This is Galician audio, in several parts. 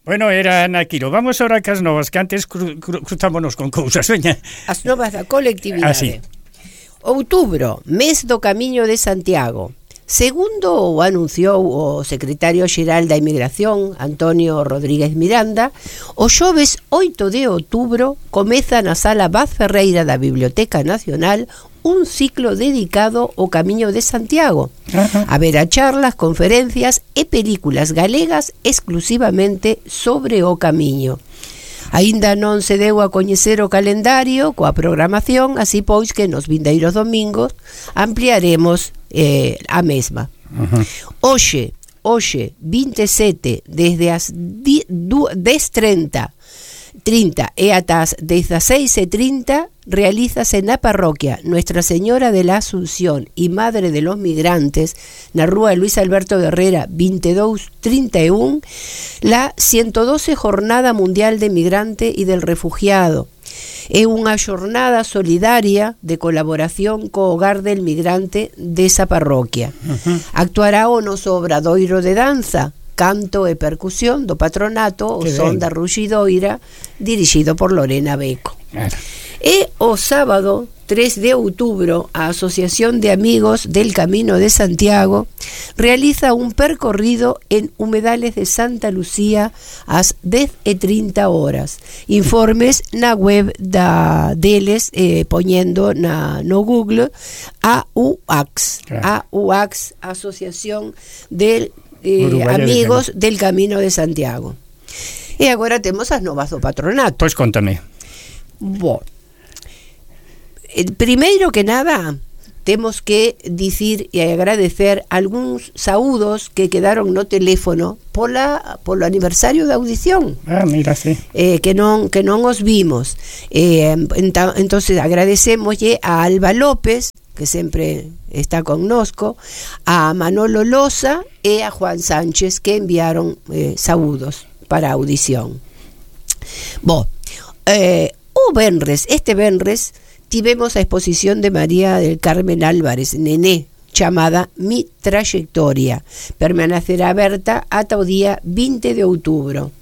Bueno, era Ana Quiro. Vamos ahora cas novas, que antes cruzámonos con cousas, veña. As novas da colectividade. Outubro, mes do Camiño de Santiago. Segundo o anunciou o secretario xeral da Inmigración, Antonio Rodríguez Miranda, o xoves 8 de outubro comeza na Sala Vaz Ferreira da Biblioteca Nacional un ciclo dedicado ao Camiño de Santiago. Haberá charlas, conferencias e películas galegas exclusivamente sobre o Camiño. Aínda non se deu a coñecer o calendario coa programación, así pois que nos vindeiros domingos ampliaremos a mesma. Hoxe 27 desde as 10:30 e ata as 16:30 realízase na parroquia Nuestra Señora de la Asunción y Madre de los Migrantes, na rúa Luis Alberto Guerrera 2231, la 112 Jornada Mundial de Migrante y del Refugiado. É unha xornada solidaria de colaboración co Hogar del Migrante desa parroquia. Actuará o noso obradoiro de danza, canto e percusión do patronato, o Son da Ruxidoira, dirixido por Lorena Beco. E o sábado 3 de outubro a Asociación de Amigos del Camino de Santiago realiza un percorrido en Humedales de Santa Lucía ás 10:30 horas. Informes na web deles, poñendo no Google AUAX, Asociación del Amigos del Camino de Santiago. E agora temos as novas do patronato. Pois contame. Primeiro que nada, temos que dicir e agradecer algúns saúdos que quedaron no teléfono polo aniversario da audición. Mira, sí. Que non os vimos. Entonces agradecemoslle a Alba López, que sempre está connosco, a Manolo Loza e a Juan Sánchez, que enviaron saúdos para a audición. Este venres tivemos a exposición de María del Carmen Álvarez, Nené, chamada Mi Trayectoria. Permanecerá aberta ata o día 20 de outubro.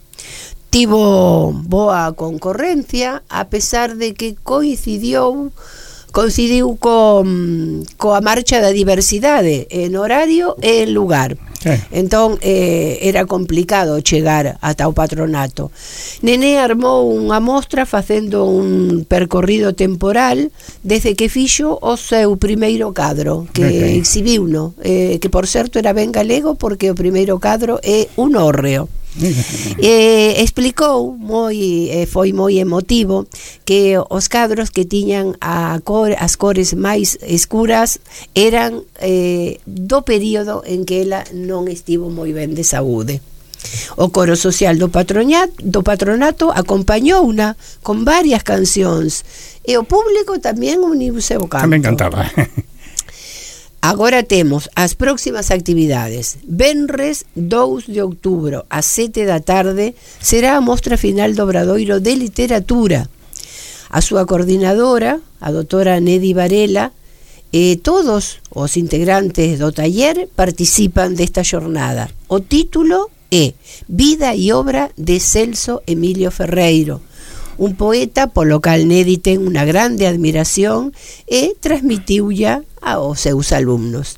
Tivo boa concorrencia, a pesar de que coincidiu coa marcha da diversidade en horario e en lugar. Entón era complicado chegar ata o patronato. Nené armou unha mostra facendo un percorrido temporal desde que fixo o seu primeiro cadro, que exhibiuno, que por certo era ben galego, porque o primeiro cadro é un hórreo. Explicou foi moi emotivo que os cadros que tiñan as cores máis escuras eran do período en que ela non estivo moi ben de saúde. O coro social do patronato acompañouna con varias cancións e o público tamén uniuse ao canto. Tamén cantaba. Agora temos as próximas actividades. Venres 2 de outubro ás 7 da tarde será a mostra final do Obradoiro de Literatura. A súa coordinadora, a doutora Nedi Varela, e todos os integrantes do taller participan desta xornada. O título é Vida e obra de Celso Emilio Ferreiro, un poeta polo cal Nedi ten unha grande admiración e transmitiulla aos seus alumnos.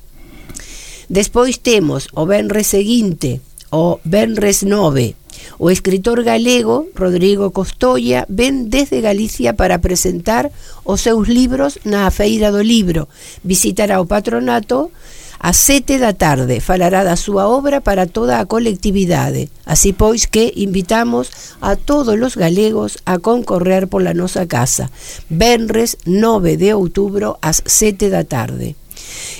Despois temos o venres seguinte, o venres 9. O escritor galego Rodrigo Costolla ven desde Galicia para presentar os seus libros na Feira do Libro. Visitará o patronato ás 7 da tarde, falará da súa obra para toda a colectividade. Así pois que invitamos a todos os galegos a concorrer pola nosa casa. Venres 9 de outubro ás 7 da tarde.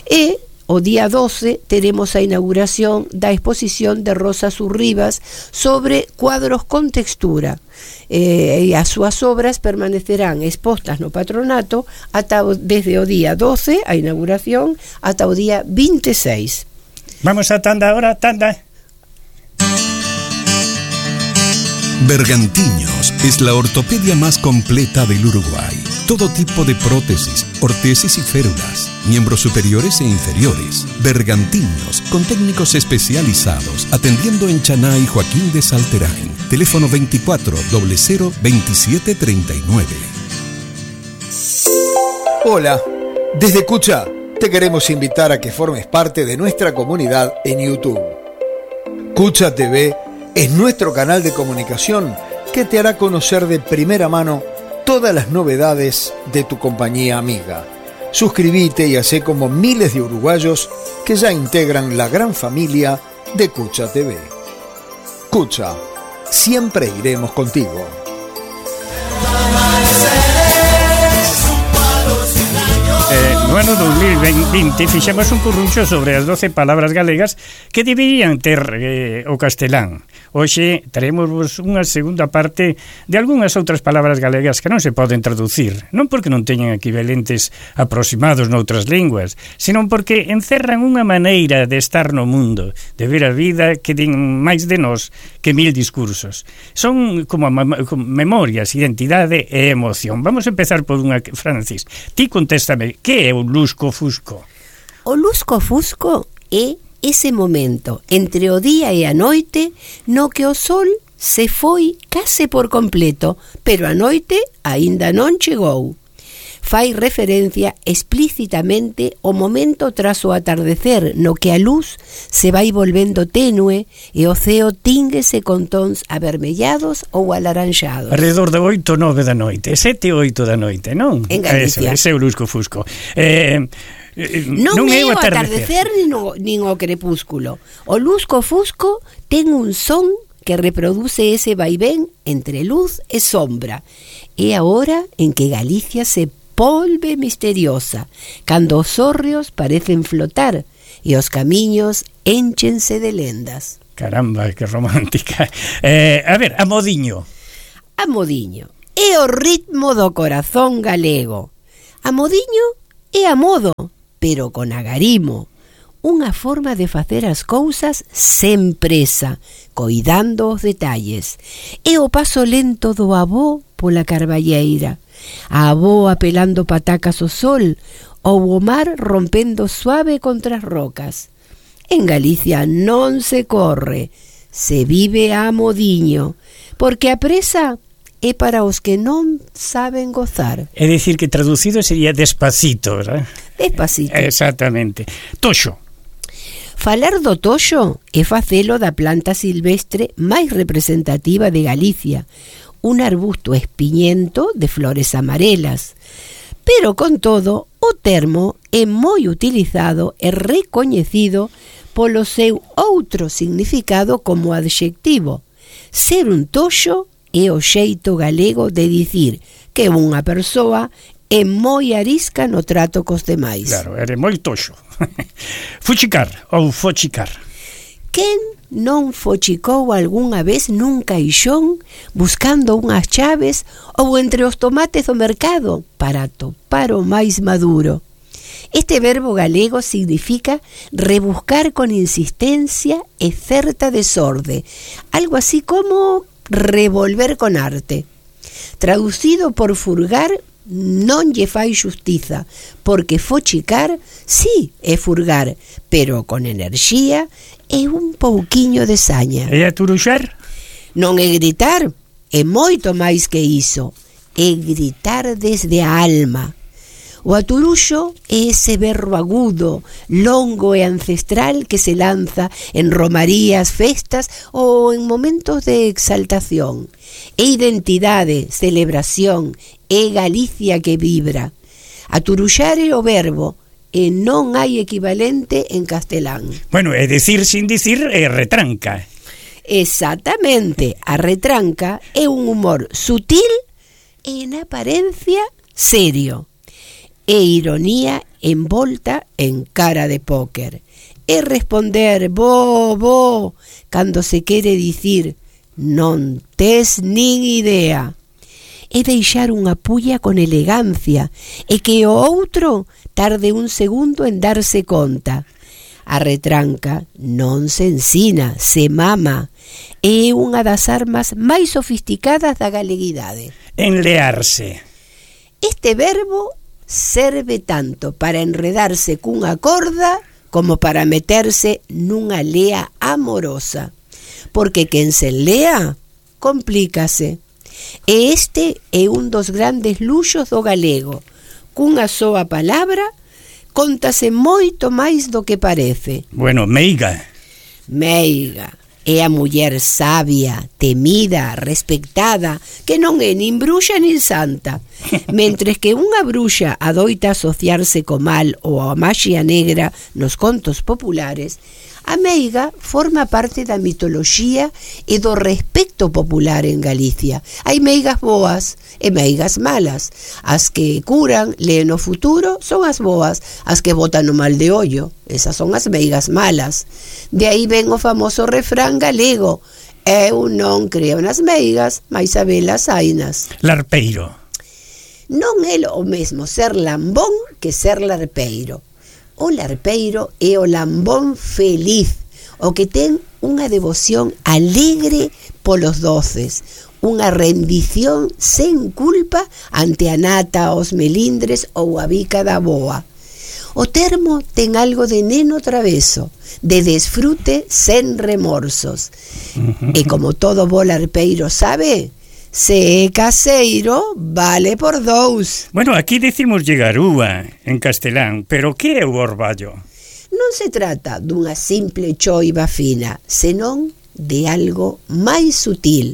E o día 12 teremos a inauguración da exposición de Rosa Surribas sobre cuadros con textura. E as súas obras permanecerán expostas no patronato desde o día 12, a inauguración, ata o día 26. Vamos a tanda ahora, tanda. Bergantiños es la ortopedia más completa del Uruguay. Todo tipo de prótesis, ortesis y férulas, miembros superiores e inferiores. Bergantiños, con técnicos especializados, atendiendo en Chaná y Joaquín de Salterain. Teléfono 24 00 27 39. Hola, desde Cucha te queremos invitar a que formes parte de nuestra comunidad en YouTube. Cucha TV es nuestro canal de comunicación que te hará conocer de primera mano todas las novedades de tu compañía amiga. Suscríbete y hacé como miles de uruguayos que ya integran la gran familia de Cucha TV. Cucha, siempre iremos contigo. No ano 2020 fixemos un curruncho sobre as 12 palabras galegas que deberían ter o castelán. Hoxe traemos unha segunda parte de algunhas outras palabras galegas que non se poden traducir, non porque non teñan equivalentes aproximados noutras linguas, senón porque encerran unha maneira de estar no mundo, de ver a vida que din máis de nós que 1000 discursos. Son como memorias, identidade e emoción. Vamos a empezar por unha, Francis. Ti contéstame, que é o lusco-fusco? O lusco-fusco é ese momento entre o día e a noite no que o sol se foi case por completo, pero a noite aínda non chegou. Fai referencia explícitamente ao momento tras o atardecer no que a luz se vai volvendo tenue e o ceo tínguese con tons avermellados ou alaranxados. Alrededor de 8 ou 9 da noite, 7 ou 8 da noite, non? En Galicia. Ese é o lusco-fusco. Non é o atardecer nin o crepúsculo. O lusco-fusco ten un son que reproduce ese vaivén entre luz e sombra. É a hora en que Galicia se volve misteriosa, cando os hórreos parecen flotar e os camiños énchense de lendas. Caramba, que romántica. A ver, amodiño. Amodiño é o ritmo do corazón galego. Amodiño é a modo, pero con agarimo. Unha forma de facer as cousas sen presa, coidando os detalles. É o paso lento do avó pola carballeira, a avó apelando patacas ao sol, ou o mar rompendo suave contra as rocas. En Galicia non se corre, se vive a modiño, porque a presa é para os que non saben gozar. É dicir que traducido sería despacito, ¿verdad? Despacito. Exactamente. Toxo. Falar do toxo é facelo da planta silvestre máis representativa de Galicia, un arbusto espiñento de flores amarelas. Pero, con todo, o termo é moi utilizado e recoñecido polo seu outro significado como adxectivo. Ser un toxo é o xeito galego de dicir que unha persoa é moi arisca no trato cos demais. Claro, é moi toxo. Fuchicar ou fochicar. Quen non fochicou algunha vez nun caixón buscando unhas chaves ou entre os tomates do mercado para topar o máis maduro? Este verbo galego significa rebuscar con insistencia e certa desorde, algo así como revolver con arte. Traducido por furgar, non lle fai xustiza, porque fochicar sí é furgar, pero con enerxía e un pouquiño de saña. E aturuxar? Non é gritar, é moito máis que iso, é gritar desde a alma. O aturuxo é ese berro agudo, longo e ancestral que se lanza en romarías, festas ou en momentos de exaltación. É identidade, celebración, é Galicia que vibra. Aturuxar é o verbo e non hai equivalente en castelán. Bueno, é dicir sin dicir é retranca. Exactamente, a retranca é un humor sutil e en apariencia serio. É ironía envolta en cara de póker. É responder bo, cando se quere dicir non tes nin idea. É deixar unha pulla con elegancia e que o outro tarde un segundo en darse conta. A retranca non se ensina, se mama. É unha das armas máis sofisticadas da galeguidade. Enlearse. Este verbo serve tanto para enredarse cunha corda como para meterse nunha lea amorosa, porque quen se enlea complícase. E este é un dos grandes luxos do galego. Cunha soa palabra contase moito máis do que parece. Bueno, meiga. Meiga é a muller sabia, temida, respectada, que non é nin bruxa nin santa. Mentres que unha bruxa adoita asociarse co mal ou a maxia negra nos contos populares, a meiga forma parte da mitoloxía e do respecto popular en Galicia. Hai meigas boas e meigas malas. As que curan, leen o futuro, son as boas. As que botan o mal de ollo, esas son as meigas malas. De aí ven o famoso refrán galego: eu non creo nas meigas, mais a velas hainas. Larpeiro. Non é o mesmo ser lambón que ser larpeiro. O larpeiro é o lambón feliz, o que ten unha devoción alegre polos doces, unha rendición sen culpa ante a nata, os melindres ou a bica da boa. O termo ten algo de neno traveso, de desfrute sen remorsos. E como todo bo larpeiro sabe, se é caseiro, vale por dous. Bueno, aquí decimos garúa en castelán, pero que é o orballo? Non se trata dunha simple choiva fina, senón de algo máis sutil,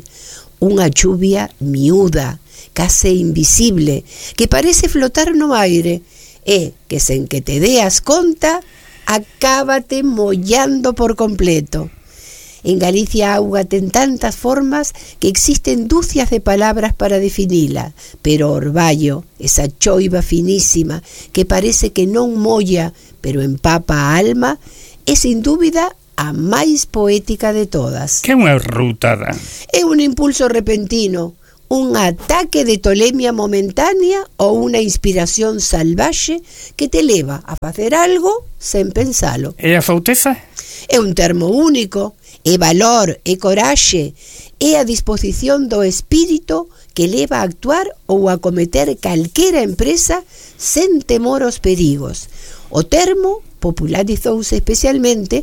unha chuvia miúda, case invisible, que parece flotar no aire, e que sen que te deas conta, acábate mollando por completo. En Galicia a auga ten tantas formas que existen dúcias de palabras para definila, pero orballo, esa choiva finísima que parece que non molla, pero empapa a alma, é sin dúbida a máis poética de todas. Que é unha rutada? É un impulso repentino, un ataque de tolemia momentánea ou unha inspiración salvaxe que te leva a facer algo sen pensalo. E a fauteza? É un termo único. É valor, é coraxe, é a disposición do espírito que leva a actuar ou a cometer calquera empresa sen temor aos perigos. O termo popularizouse especialmente